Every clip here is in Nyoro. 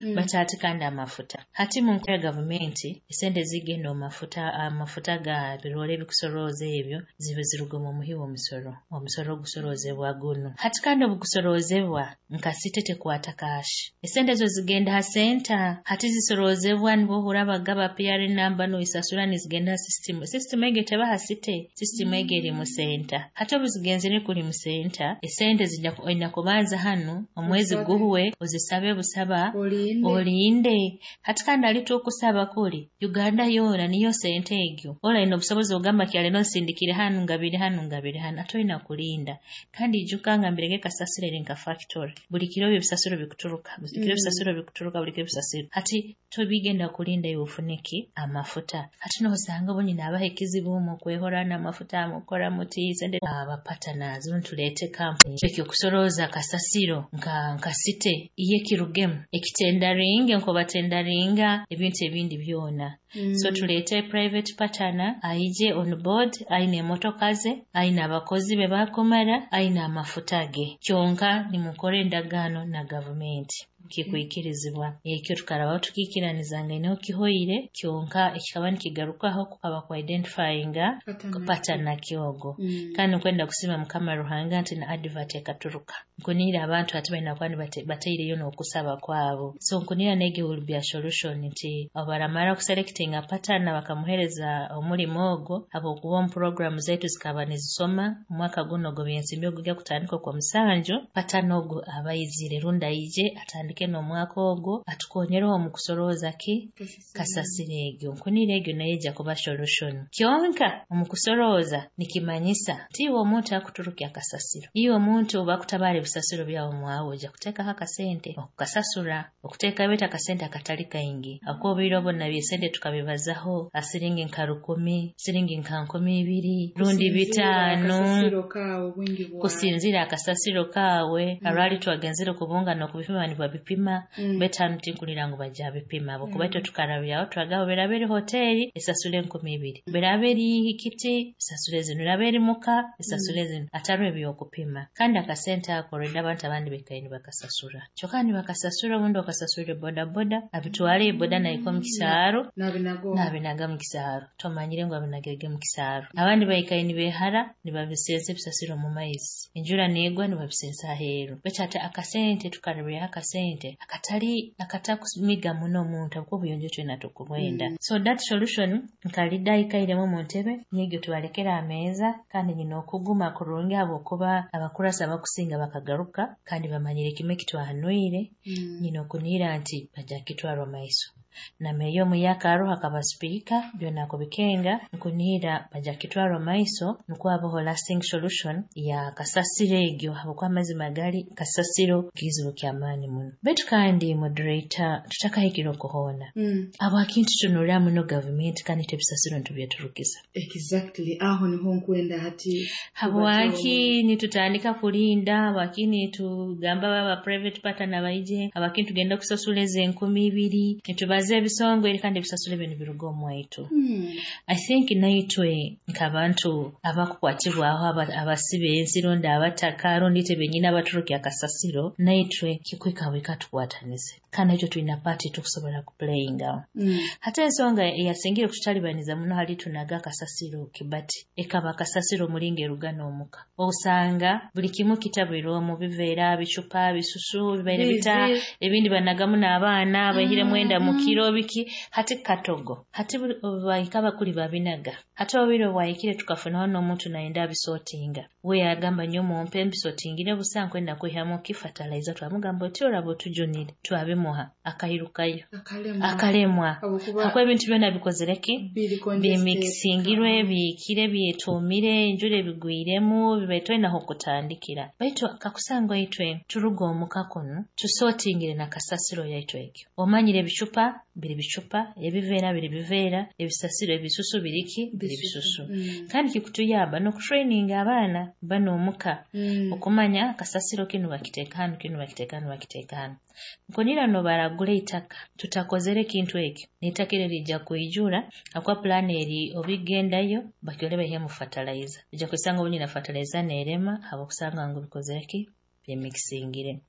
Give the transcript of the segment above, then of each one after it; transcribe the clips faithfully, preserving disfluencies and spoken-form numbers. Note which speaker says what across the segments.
Speaker 1: Mm.
Speaker 2: Bati kandi amafuta hati mu nkola ya gavumenti, esente zigenda omu mafuta, amafuta ga birole ebikusorooza ebyo zibe ziruga omu muhi w'omusoro. Omusoro ogusorozebwa gunu hati kandi obugusorozebwa nka city tekwata cash, esente ezo zigenda ha center. Hati zisorozebwa nibwo ohurra bagaba P R number, noisasura, nizigenda ha system. System egi teba ha city, system egi eri mu center. Hati obu zigenzere kuri mu center, esente zijja oina kubanza hanu omwezi
Speaker 1: Osabe.
Speaker 2: Guhwe ozisabe busaba.
Speaker 1: Olinde.
Speaker 2: Olinde. Hati kandi ali tukusaba kuri Uganda yoona niyo sente egyo ora ina obusobozi ogamba kyale nsindikire hanu, ngabire hanu, ngabire hanu, ate olina kulinda. Kandi ijuka ngambirege kasasiro eri nka factory, buli kiro ebisasiro bikuturuka, buli kiro
Speaker 1: Mm.
Speaker 2: ebisasiro bikuturuka, buli kiro ebisasiro. Hati tobigenda kulinda iwe ofuneki amafuta. Hati noosanga obu nyina abaha ekizibu mukwehora n'amafuta mukora muti sente aba partners ntuleete kampuni ekyokusorooza kasasiro nka nka city iye kirugemu ekitendaringe nkobatendaringa ebintu ebindi byona.
Speaker 1: Mm.
Speaker 2: So tuleete private partner aije on board, aine emotoka ze, aine abakozi be bakumara, aine amafuta ge, kyonka nimukora endagaano na gavumenti kikwikirizibwa. Ekyo tukarabaho tukiikiranizanga ineho kihoire. Kyonka ekikaba nikigarukaho kukaba ku identifyinga
Speaker 1: Partner.
Speaker 2: Partner kyogo.
Speaker 1: Mm.
Speaker 2: Kandi nkwenda kusima Mukama Ruhanga nti na advert ekaturuka, nkunira abantu ati balina kuba nibate- bateireyo n'okusaba kwabo. So nkunira nege will be a solution nti baramara kuselectinga partner bakamuhereza omulimo ogwo, habwokuba omu program zaitu zikaba nizisoma omwaka guno ogwo byensimbi ogujya kutandika okwa musanju, partner ogwo abaizire rundi aije atandike n'omwaka ogwo atukonyereho omu kusorooza ki kasasiro egyo. Nkunira egyo nayo ejja kuba solution. Kyonka omu kusorooza nikimanyisa nti iwe omuntu akuturukya akasasiro, iwe omuntu oba akutabaara ebisasiro byawe mwawe, ojja kuteekaho akasente okukasasura, okuteekayo baitu akasente akatali kaingi, akuba obwire obwo nabyo esente tukabibazaho asiringi nka rukumi, siringi nka nkumi ibiri rundi
Speaker 1: Kusinziira
Speaker 2: bitaano.
Speaker 1: Akasasiro kaawe obwingi bwawe.
Speaker 2: Kusinziira akasasiro kaawe. Arwali twagenzere kubunga n'okubipima nibabipima.
Speaker 1: Mm.
Speaker 2: Baitu hanu tinkulira ngu bajja bipima habwokuba itwe tukarabyaho twagamba biraba eri hoteri esasule enkumi ibiri, biraba eri kiti esasule zinu, biraba eri muka esasule zinu, atariho ebyokupima. Kandi akasente ako already abantu abandi bekaire nibakasasura, kyokka nibakasasura obundi okasasurire boda boda abitwale boda nahika omu kisaaro.
Speaker 1: Nabinago.
Speaker 2: Nabinaga mu kisaaro, tomanyire ngu abinagirege mu kisaaro. Abandi baikaire nibehara nibabisensa ebisasiro mu maizi, enjura neegwa nibabisensa aheeru. Baitu ate akasente tukarabyaho akasente akatali akatakumiga muno omuntu, habwokuba obuyonjo twena tukubwenda.
Speaker 1: Mm.
Speaker 2: So that solution nkalida aikairemu omu ntebe nyegyo tubalekere ameeza kandi nyina okuguma kurungi habwokuba abakurasi abakusinga bakagaruka kandi bamanyire kimwe ekitwahanwire.
Speaker 1: Mm.
Speaker 2: Nyina okunira nti bajja kitwarwa maiso na meeya omuyaka aroho akaba sipiika byona akubikenga. Nkunihira bajja kitwarwa maiso nukwo habeho lasting solution ya kasasiro egyo, habwokuba amazima gali kasasiro kizibu kyamaani muno. Baitu kandi moderator, tutakahikire okuhoona.
Speaker 1: Mm.
Speaker 2: Habwaki nitutunulira muno gavumenti kandi itwe ebisasiro nitubyeturukiza?
Speaker 1: Exactly, aho niho nkwenda hati.
Speaker 2: Habwaki nitutandika kulinda? Habwaki nitugamba baba private partner baije? Habwaki nitugenda kusasula ezi enkumi ibiri, nitubaza ebisongo kandi ebisasuro ebyo nibiruga omwaitu?
Speaker 1: Mm.
Speaker 2: I think naitwe nk'abantu abakukwatibwaho, aba- abasiba ensi rundi abataka rundi itwe benyini abaturukya akasasiro, naitwe kikwika bwika tukwatanize kandi naitwe tulina part tukusobola kuplayingaho.
Speaker 1: Mm.
Speaker 2: Hati ensonga eyasingire kututalibaniza muno hali tunaga akasasiro kibati ekaba akasasiro mulinga eruga n'omuka, osanga buli kimu kitabwirwe omu biveera, bicupa, bisusu bibaire bita
Speaker 1: Bizi.
Speaker 2: Ebindi banagamu n'abaana baihire mwenda mu
Speaker 1: Mm.
Speaker 2: kiro biki. Hati katogo hati buli- bahika bakuli babinaga. Hati obwire bwahikire tukafunaho n'omuntu nayenda abisortinga, we yagamba, "Nyo mumpe mbisortingire busa, nkwenda kwihamu ki fertilizer." Twamugamba oti oraba otujunire, twabimuha, akairukayo.
Speaker 1: Akalemwa.
Speaker 2: Akalemwa.
Speaker 1: Habwokuba
Speaker 2: hakuba ebintu byona bikozere ki?
Speaker 1: Biri congested.
Speaker 2: Bimikisingirwe, biikire, byetuumire, enjura ebigwiremu, bibaire tolinaho okutandikira. Baitu kakusanga itwe turuga omuka kunu tusortingire na kasasiro yaitu egyo, omanyire ebicupa biri bicupa, ebiveera biri biveera, ebisasiro ebisusu biriki biri bisusu.
Speaker 1: Mm.
Speaker 2: Kandi kikutuyamba n'okutraininga abaana bano omuka
Speaker 1: Mm.
Speaker 2: okumanya kasasiro kinu bakiteeka hanu, kinu bakiteeka hanu, bakiteeka hanu. Nkunira nobaragura eitaka tutakozere ekintu ekyo, n'eitaka eryo lijja kwijura, akuba pulaani eri obigendayo bakyole baihemu fertilizer, ojja kwisanga obundi na fertilizer neerema habwokusanga ngu bikozere ki, byemikisingire.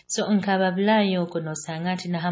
Speaker 2: So nkaba Bulaaya okwo nosanga nti naha.